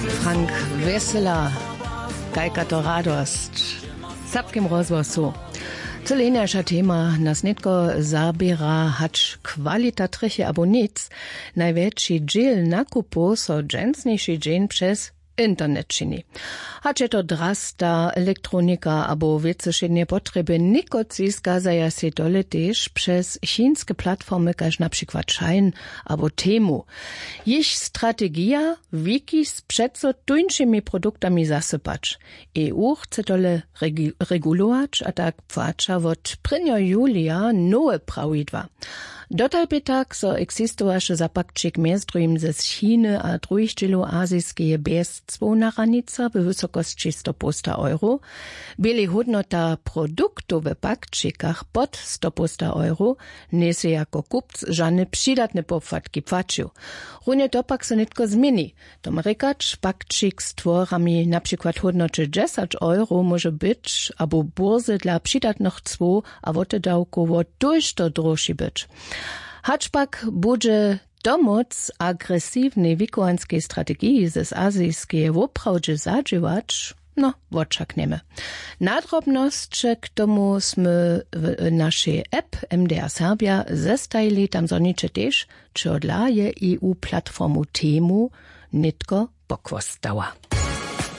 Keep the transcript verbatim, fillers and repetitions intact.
Frank Wesela. Kajka to radosć w serbskim rozhłosu. Cyle hinaša tema nas nětko zaběra, hač kwalita trjeche abo nic. Najwjetši dźěl nakupow so dźensniši dźeń přez internet čini. Hač je to drasta elektronika abo wěcy wšědneje potrjeby, někotři skazaja sej tole tež přez činske platformy kaž na přikład Shein abo Temu. Jich strategija: wiki z přeco tóńšimi produktami zasypać. E U chce tole regulować a tak płaća wot prěnjeho julija nowe prawidła. Dotal bě tak so eksistowaše za pakćik mjez druhim ze Chiny a druhich dźělow azijskeje bjez cłowna hranica we wysokosći stopołsta euro. Běli hódnota produktow we pakćikach pod stopołsta euro, njejsy jako kupc žane přidatne popłatki płaćił. Runje to pak so nětko změni. To ma rěkać, pakćik z tworami na přikład hódnoće dźesać euro móže być abo burze dla přidatnych cłow a wotedawkowo tójšto droši być. Hač pak budźe to móc agresywnej wikowanskej strategiji z azijskeje woprawdźe zadźěłać? No, wočaknjemy. Nadrobnosće k tomu smy w našej app M D R Serbja zestajili. Tam zhoniće tež, čehodla je E U platformu Temu nětko pochłostała.